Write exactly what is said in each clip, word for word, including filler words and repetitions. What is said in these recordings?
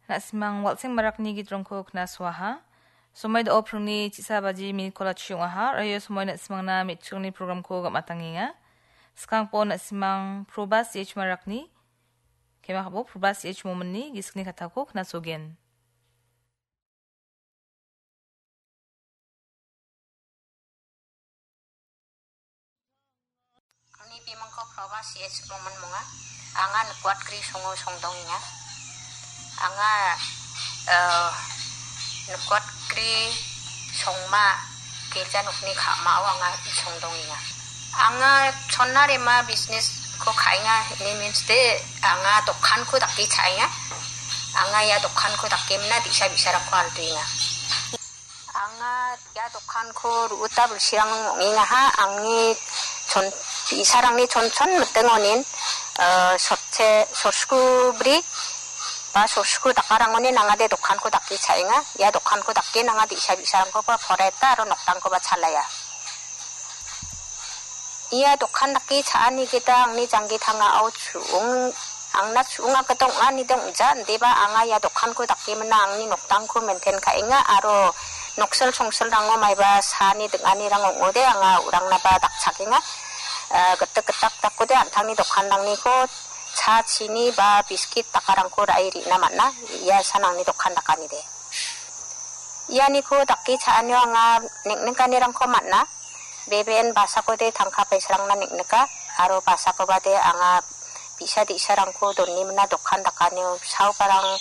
Na·simang Walseng Marakni gitrongko knasoaha. Somoi do·o pringni chisa baji minit kola chi ong·aha. Raio somoi na·simangna me·chikrangni programko gam·atangenga. Skangpo na·simang Probas H Marakni, kemakabo Probas H Mominni gisikni katako knasogen. Angni bimangko Probas H Momin monga. Anga Nikuat Kri songo songdongenga. Anga, eh, Nikuat Kri songma girja nokni ka·mao anga songdongenga. Anga chonna rema business-ko ka·enga, ini means de anga dokanko dake cha·enga. Anga ia dokanko dake mina bi·sa bi·sarangko alduenga. Anga ia dokanko ru·uta bilsirang ong·engaha, angni chon-, bi·sarangni chonchon miting onin, eh, sotse, sorsku bri ba sorsku dakarang onin angade dokanko dake cha·enga. Ia dokanko dake nanga bi·sa bi·sarangkoba poreta aro noktangkoba chalaia. Ia dokan dake cha·ani gita angni janggi tangao chu·ong, angna chu·onga gita ong·ani de ong·ja, indiba anga ia dokanko dake mina angni noktangko maintain ka·enga aro noksel songselrango maiba saani ding·anirang ong·ode anga u·rangnaba dakchakenga. Eh, gitik gitak dakode an·tangni dokanrangniko cha, chini ba biskit dakarangko ra·e re·na man·a. Ia san angni dokan dakanide. Ianiko dake cha·anio anga neng·nikanirangko man·a. Beben basakode tangka paisarangna neng·nika, aro basakobade anga bi·sa di·sarangko doni mina dokan dakanio saobarang,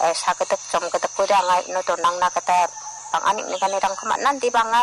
eh, sagidik jomgidikode anga ino donangna gita bang·a neng·nikanirangko man·a. Indiba anga